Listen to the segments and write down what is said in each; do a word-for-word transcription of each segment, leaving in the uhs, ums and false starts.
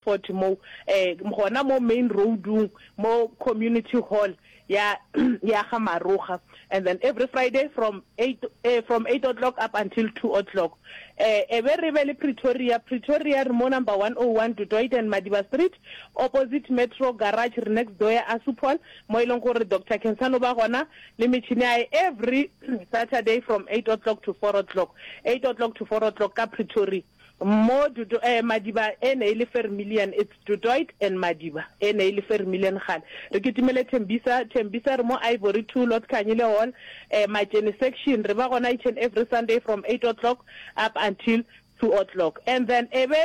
forty mo eh gona mo main roadung mo community hall ya ya ga Maroga and then every Friday from eight eh, from eight o'clock up until two o'clock eh e be re be le Pretoria Pretoria re mo number one oh one Du Toit and Madiba Street opposite Metro Garage re next door ya Asupol mo e leng gore Doctor Khensani o ba gona le metšhini ya hae every Saturday from eight o'clock to four o'clock eight o'clock to four o'clock ka Pretoria mo Du Toit eh Madiba e ne e le Vermilion it's Du Toit and Madiba e ne e le Vermilion gale re kitimele Tembisa Tembisa re mo Ivory two Lord Khanyile Hall eh Matjene section re ba gona each and every Sunday from eight o'clock up until two o'clock and then e be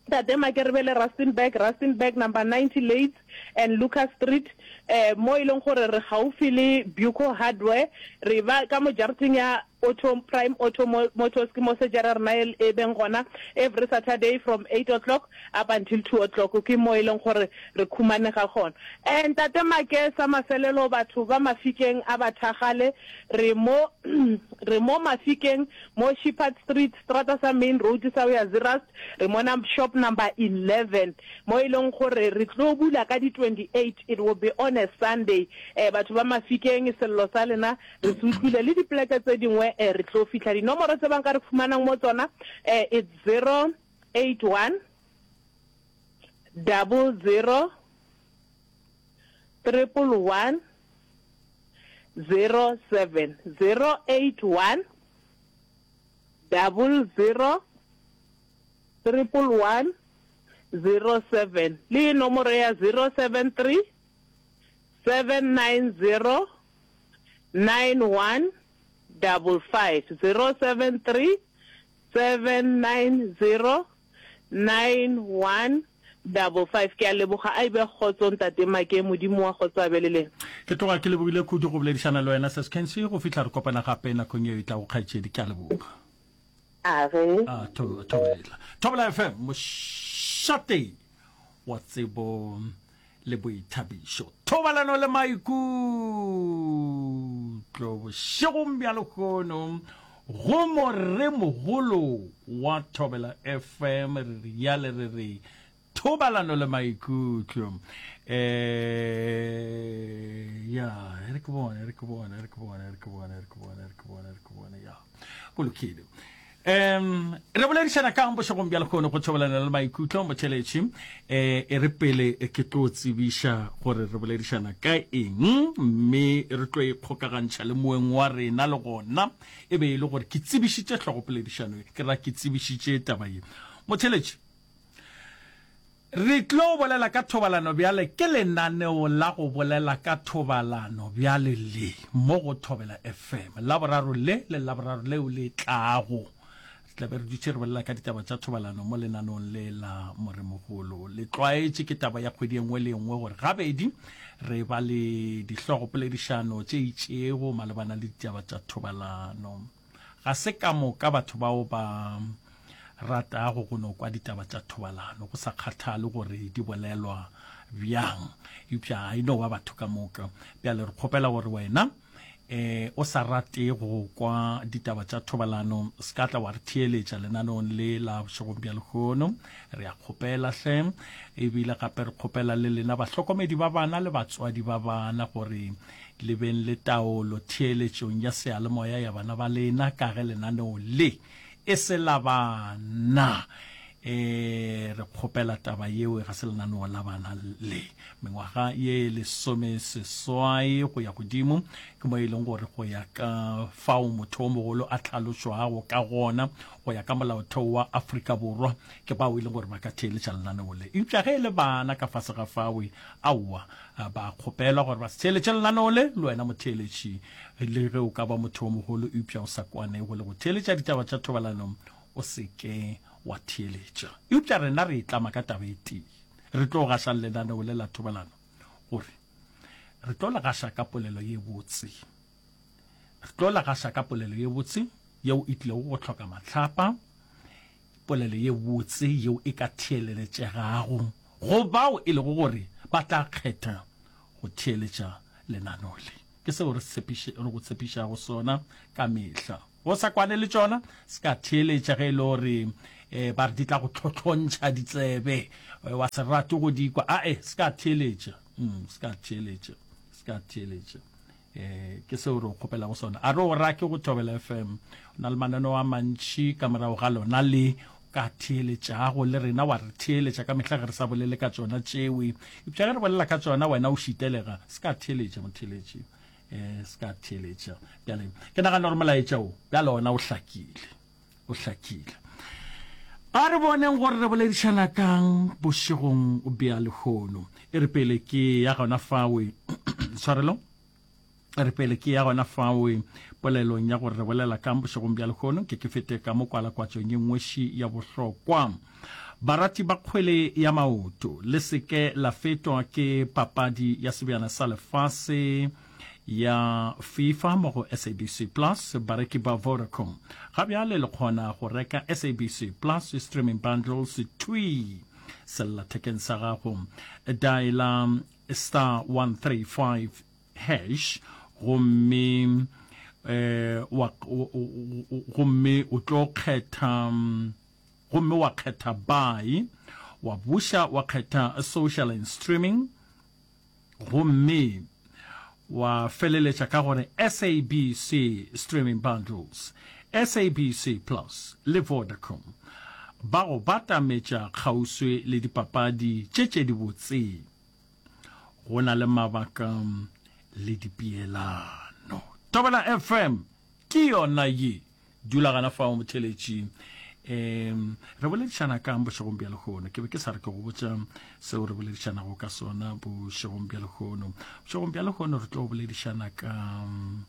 Tate Make re be le Rustenburg Rustenburg number ninety Leits and Lucas Street eh mo e leng gore re gaufi le Buco Hardware re ba ka mo jarateng ya Auto Prime Auto Motors ke mo sejara rena e, e beng gona every Saturday from eight o'clock up until two o'clock ke mo e leng gore re khumanega gona. Eh Ntate Make sa mafelelo batho ba Mafikeng a ba thagale re mo re mo Mafikeng mo Shepherd Street strata sa main road sa ho ya Zeerust re mo shop number eleven mo e leng gore re tlo bula ka di twenty-eight it will be on a Sunday eh batho ba Mafikeng sello sa lena re se utlwile le dipleke tse dingwe eh re tlo fihla dinomoro tse bang ka re fumanang mo tsona eh it's zero eight one double zero triple one zero seven zero eight one double zero triple one zero seven le nomoro ya zero seven three seven nine zero nine one double five zero seven three seven nine zero nine one double five. Ke a leboga a ibe kgotso ntate Make modimo wa kgotso a be le lena. Ke tloga ke lebogile kudu go boledišana le wena Sis Kensi go fihla re kopana gape nakong yeo e tlago kgaetšedi ke a leboga. A ge. A thobela. Thobela F M mošate wa tsebo le boithabišo. Thobalano le maikutlo bošegong bja lehono go moremogolo wa Thobela F M re riale re re thobalano le maikutlo eh ya re ke bone re ke bone re ke bone re ke bone re ke bone re ke bone re ke bone ya go lokile. Um re boledišana kang bošegong bja lehono go thobalana le maikutlo motšheletši eh e re pele ke tlo tsebiša gore re boledišana ka eng mme re tlo ikgokagantšha le moeng wa rena le gona e be e le gore ke tsebišitše hlogopoledišano ke ra ke tsebišitše taba ye motšheletši re tlo bolela ka thobalano bjale ke lenaneo la go bolela ka thobalano bjale le mo go Thobela F M laboraro le le laboraro leo le tlago re tla be re dutše re bolela ka ditaba tša thobalano mo lenaneong le la moremogolo le tlwaetše ke taba ya kgwedi e nngwe le nngwe gore gabedi re ba le dihlogopoledišano tše itšego malebana le ditaba tša thobalano ga se ka moka batho bao ba ratago go no kwa ditaba tša thobalano go sa kgathale gore di bolelwa bjang eupša e no ba batho ka moka bjale re kgopela gore wena eh o sa rate go kwa ditaba tša thobalano se ka tla wa re theeletša lenaneong le la bošegong bja lehono re a kgopela hle ebile gape re kgopela le lena bahlokomedi ba bana le batswadi ba bana gore le beng le taolo theeletšong ya seyalemoya ya bana ba lena ka ge lenaneo le e se la bana eh re kgopela taba yeo ga se lenaneo la bana le mengwaga ye lesome seswai go ya godimo ke mo e leng gore go ya ka fao motho o mogolo a tlhalošwago ka gona go ya ka molaotheo wa Afrika Borwa ke bao e leng gore ba ka theeletša lenaneo le eupša ge e le bana ka fase ga fawe aowa ba kgopelwa gore ba se theeletše lenaneo le le wena motheeletši le ge o ka ba motho o mogolo eupša o sa kwanego le go theeletša ditaba tša thobalano o se ke wa theeletša eupša rena re itlama ka taba e tee re tlo gaša lenaneo le la thobalano gore re tlo le gaša ka polelo ye botse re tlo le gaša ka polelo ye botse yeo e tlilego go hloka mahlapa polelo ye botse yeo e ka theeletšegago go bao e lego gore ba tla kgetha go theeletša lenaneo le ke seo re tshepiše re go tshepišago sona ka mehla go sa kwane le tšona se ka theeletša ge e le gore um ba re di tla go tlhotlhontšha ditsebe wa se rate go di kwa ae se ka theeletša mm, se ka theeletša se ka theeletša um ke seo re o kgopelago sona a re o rake go Thobela F M o na le mananeo a mantšhi ka morago ga lona le ka theeletšago le rena wa re theeletša ka mehla ge re sa bolele ka tšona tšewe eupša ge re bolela ka tšona wena o šitelega se ka theeletša motheeletši um se ka theeletša bjale ke nagana gore molaetša o bjale ona o hlakile o hlakile a re boneng gore re boledišana kang bošegong bja lehono e re pele ke ya gona fawe tshwarelo re pele ke ya gona fawe polelong ya gore re bolela kang bošegong bja lehono ke ke fete ka mo kwalakwatšong ye nngweši ya bohlokwa barati ba kgwele ya maoto le seke la fetwa ke papadi ya sebjana sa lefase ya FIFA mo go S A B C Plus. Bareki ba Vodacom ga bjale le kgona go reka S A B C Plus streaming bundles twi sellathekeng sa gago. Diala star one three five hash gomme eh wa gomme o tlo kgetha gomme wa kgetha buy, wa buša wa kgetha social and streaming, gomme wa feleletša ka gore S A B C streaming bundles. S A B C Plus le Vodacom ba go batametša kgauswi le dipapadi tše tše dibotse go na le mabaka le dipeelano. Thobela F M ke yona ye dula gana fao motheletši. um re boledišana kang bošegong bja lehono? Ke be ke sa re ke go botša seo re boledišanago ka sona bošegong bja lehono. Bošegong bja lehono re tlo boledišana ka um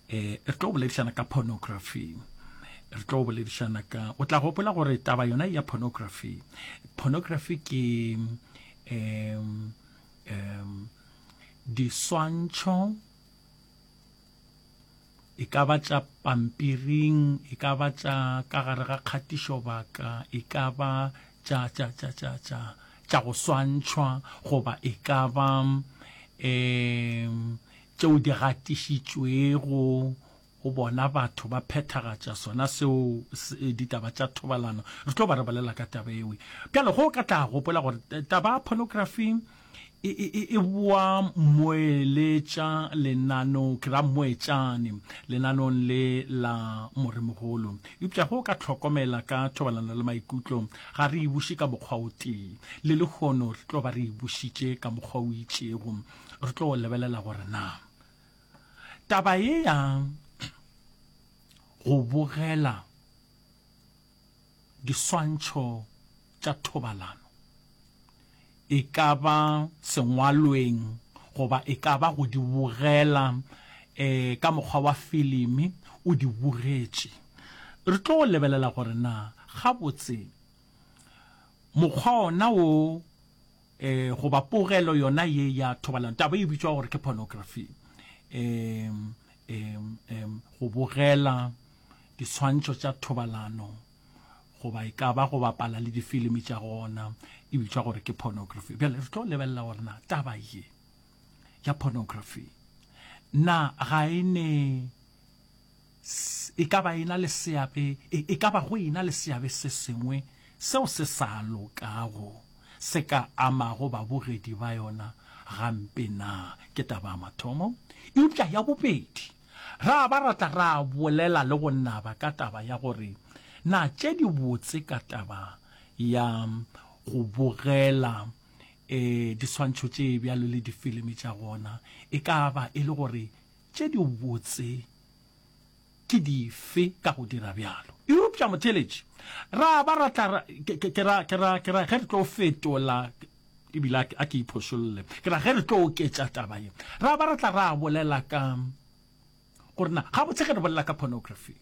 re tlo boledišana ka pornography. Re tlo boledišana ka o tla gopola gore taba yona ya pornography, pornography ke um um diswantšho, e ka ba tša pampiring, e ka ba tša ka gare ga kgatišobaka, e ka ba tša tša tša tša tša tša go swantšhwa, goba e ka ba um tšeo di gatišitšwego go bona batho ba phethagatša sona seo ditaba tša thobalano. Re tlo ba re bolela ka taba eo. Bjale go ka tla gopola gore taba ya pornography e, e, e boa moeletša lenano ke ra moetšane lenanong le la moremogolo, eupša go ka tlhokomela ka thobalano le maikutlo ga re e buše ka mokgwa o tee. Le lehono re tlo ba re e bušitše ka mokgwa o itšego. Re tlo lebelela gore na taba ye ya go bogela diswantšho tša thobalano, e ka ba sengwalweng goba e ka ba go di bogela um ka mokgwa wa filimi o di bogetše, re tlo lebelela gore na gabotse mokgwa ona wo um goba pogelo yona ye ya thobalano, taba e bitswa gore ke pornography, um um um go bogela diswantšho tša thobalano goba e ka ba go bapala le difilimi tša gona, e bitswa gore ke pornography. Bjale re tlo lebelela gore na taba ye ya pornography na ga e ne e ka ba e na le seabe, e ka ba go e na le seabe se sengwe seo se sa lokago se ka amago babogedi ba yona gampe na? Ke taba ya mathomo. Eupša ya bobedi, ra ba ra tla ra bolela le go naba ka taba ya gore na tše di botse ka taba ya go bogela um diswantšho tše bjalo le difilimi tša gona e ka ba e le gore tše di botse ke dife ka go dira bjalo. Eupša motheletši, ra ba ra tla ke ra ke ra ke ra ge re tlo fetola, ebile a ke iphošolle, ke ra ge re tlo oketša taba ye, ra ba ra tla ra bolela ka gore na gabotse ge re bolela ka pornography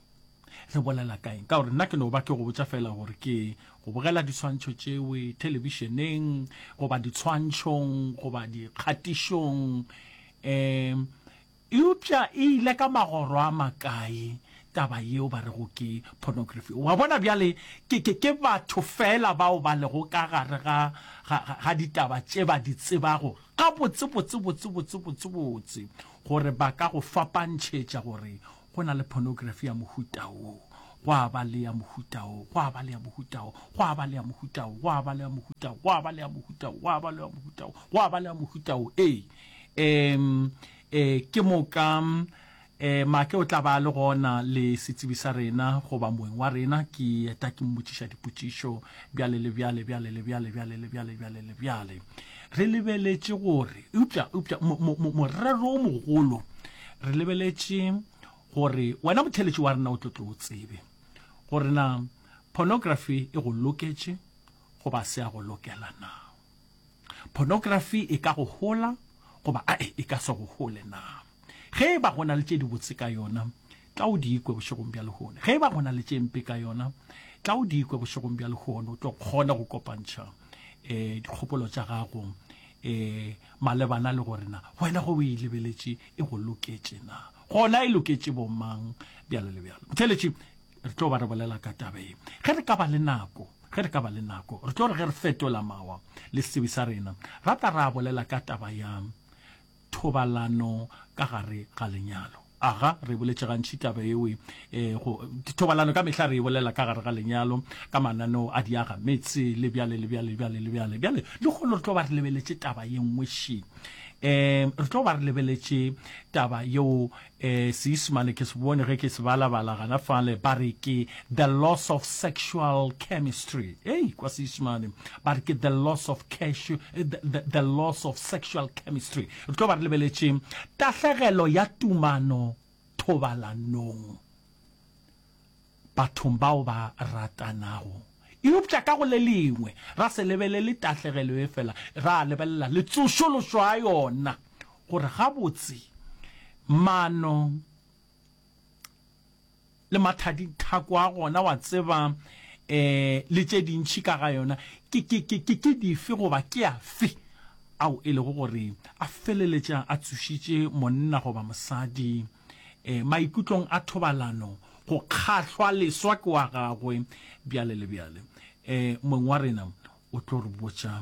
re bolela ka eng, ka gore nna ke no ba ke go botša fela gore ke go bogela diswantšho tšewe thelebišeneng goba ditshwantšhong goba dikgatišong, um eupša e ile ka magoro a makae taba yeo ba rego ke pornography? Wa bona bjale ke, ke, ke batho fela bao ba lego ka gare ga, ga, ga ditaba tše ba di tsebago ga botse botse botse botse botse botse gore ba ka go fapantšhetša gore go na le pornography ya mohuta wo, Gwa ba le ya mohuta wo, gwa ba le ya mohuta wo, gwa ba le ya mohuta wo, gwa ba le ya mohuta wo, gwa ba le ya mohuta wo, gwa ba le ya mohuta wo, gwa ba le ya mohuta wo. Ee, um, e, ke moka um Make o tla ba le gona le setsebi sa rena goba moeng wa rena, ke eta ke mmotšiša dipotšišo bjale le bjale, bjale le bjale, bjale le bjale, bjale le bjale. Re lebeletše gore, eupša, eupša mo, mo, mo, morero o mogolo, re lebeletše gore wena motheeletši wa rena o tlo tlo o tsebe gore na pornography e go loketše goba se ya go lokela na. Pornography e ka go hola goba ae e ka se go hole na. Ge e ba go na le tše dibotse ka yona, tla o di kwe bošegong bja lehono. Ge e ba go na le tše mpe ka yona, tla o di kwe bošegong bja lehono, o tlo kgona go kopantšha um dikgopolo tša gago um malebana le gore na wena go o e lebeletše e go loketše na, gona e loketše bomang, bjalo le bjalo. Motheeletši, re tlo ba re bolela ka taba ye ge re ka ba le nako, ge re ka ba le nako re tlo re ge re fetola mawa le setsebi sa rena ra tla ra bolela ka taba ya thobalano ka gare ga lenyalo. Aga, re boletše gantši taba yeo, e, go, thobalano ka mehla re e bolela ka gare ga lenyalo, ka mananeo a diaga metse, le bjale, le bjale, bjale, le bjale. Bjale, lehono re tlo ba re lebeletše taba ye nngwe še. E, re tlo ba re lebeletše taba yeo, e, Seisemane ke se bone ge ke se balabala gana fale, ba re ke the loss of sexual chemistry. Ei, kwa Seisemane, ba re ke the loss of cash, the, the, the loss of sexual chemistry. Re tlo ba re lebeletše tahlegelo ya tumano thobalanong bathong bao ba ratanago. Eupša ka go le lengwe, ra se lebelele tahlegelo ye fela, ra lebelela le tsošološo ya yona, gore gabotse maano le mathadithako a gona, wa tseba, um le tše dintši ka ga yona, ke, ke, ke, ke, ke dife goba ke afe ao e lego gore a feleletša a tsošitše monna goba mosadi um maikutlong a thobalano, go kgahlwa leswa ke wa gagwe, bjale le bjale. Um mong wa rena o tlo re botša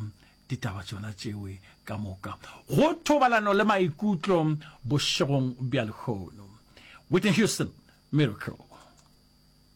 ditaba tšona tšewe ka moka go thobalano le maikutlo bošegong bja lehono. Whitney Houston, Miracle.